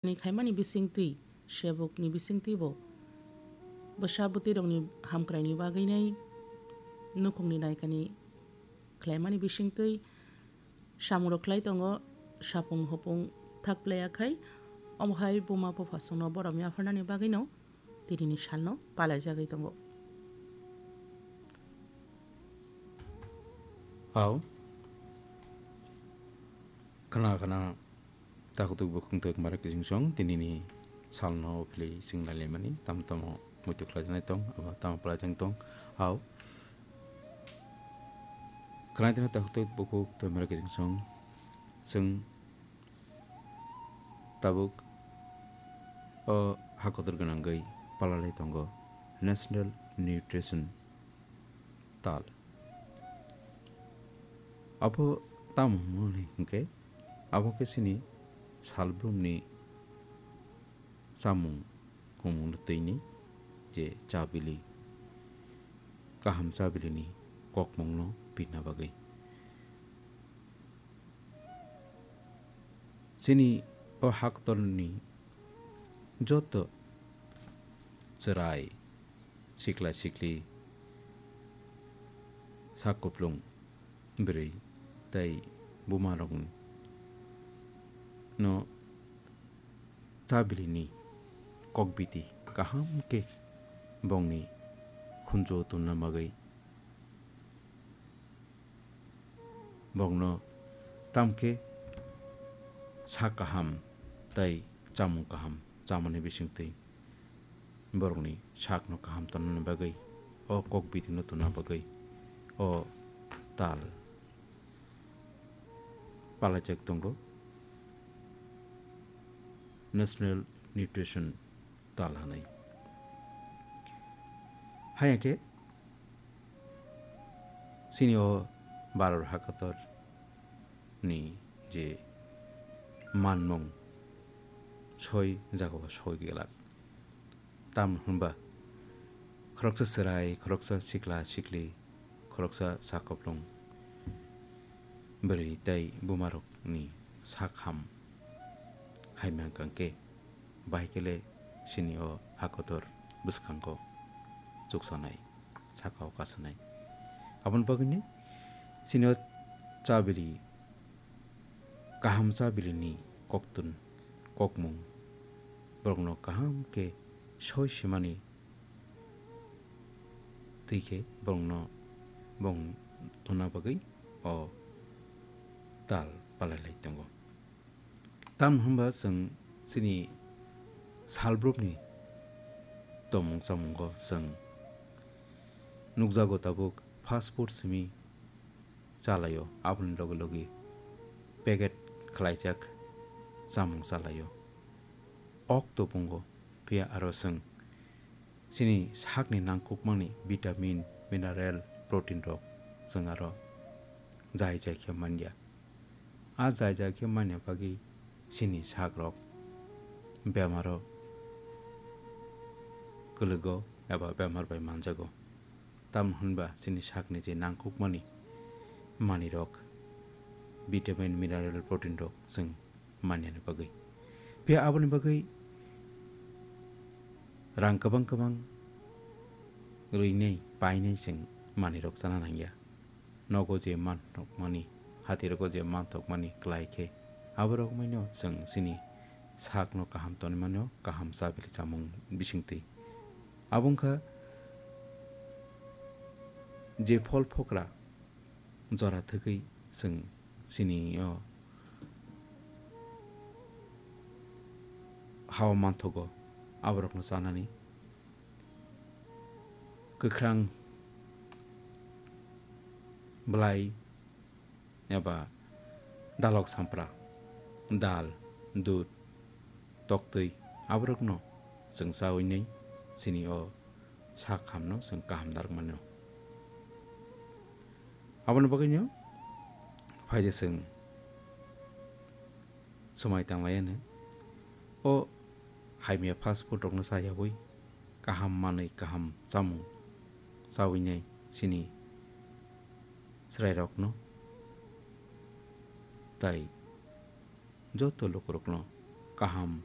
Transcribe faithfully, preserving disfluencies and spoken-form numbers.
ni khaimani bisingtwi, sebukni bisingtwi bo bwsa bwtwirokni hamkraini bagwinai nukhungni naikani khlaimani bisingtwi samungrok khlai tongo, sapung hopung thak playa khai, omo hai buma buphasongno borom yapharnani bagwino tinini salno palaijagwi tongo. Hao. Khna khna takhwtwk bukhwng twk mara kiching song tinini salno philwi chwng lailaimani tamo tamo muitu khlaijaknai tong abo tamo palaijak tong. Hao. Khna khna takhwtwk bukhwk twk mara kiching song chwng tabuk o ha kotor gwnangwi palalai tongo National Nutrition Tal. Abo tamo hwnwi hwnkhe, abo khe chini salbrumni chamung humung twini je chabili, kaham chabilini kokmungno pina bagwi. Chini o haktorni joto chwrai, sikla sikli, sak kuplung, bwrwi tei bumarokno chabilini kokbiti kaham khe bongni khunju tonna bagwi borokno tamkhe sak kaham tei chamung kaham chamani bisingtwi borokni sakno kaham tonnani bagwi o kokbitino tonna bagwi o tal palaijak tongo National Nutrition Tal hwnwi. Haiya khe chini o Bharat hakator ni je manmung soi jagao soi glak. Tamni hwnba khoroksa chwrai, khoroksa sikla sikli, khoroksa sakoplung, bwrwi tei bumarokni sak ham hai mankha khe, bahai khe le chini o hakotor bwskango chuksanai, sakao kasanai. Aboni bagwino chini o chabili, kaham chabilini koktun, kokmung, borokno kaham khe soi simani twi khe borokno bong tonna bagwi o tal palai lai tongo. Tamni hwnba chwng chini salbrumni tongmung chamungo chwng nukjago tabuk fast food simi chalaio, aboni loge loge packet khlaijak chamung chalaio. Ok tobongo, phiya aro chwng chini sakni nangkukmani vitamin, mineral, protein rok chwng aro jai jai khe manya. A jai jai khe manya bagwi chini sak rok bemaro kwlwgo eba bemar bai manjago. Tamni hwnba chini sakni je nangkukmani manwi rok, vitamin, mineral, protein rok chwng manyani bagwi. Phiya aboni bagwi rang kwbang kwbang rwinai painai chwng manwi rok chana nangya. Nogo je manthokmani, hatirogo je manthokmani klai khe, aborok maino chwng chini sakno kaham tonwi mano, kaham chabili chamung bisingtwi. Abo wngkha je phol phokra jora thwgwi chwng chini o hao manthogo, aborokno chanani kwkhrang bwlai eba dalok sampra, dal, dud, toktwi, aborokno chwng chawi nai chini o sak hamno chwng kaham narwk mano. Aboni bagwino phaide chwng swmai tanglaiya hwno. O hamya fast food rokno chayawi kaham manwi kaham chamung chawi nai chini chwrairokno tai joto lukurokno kaham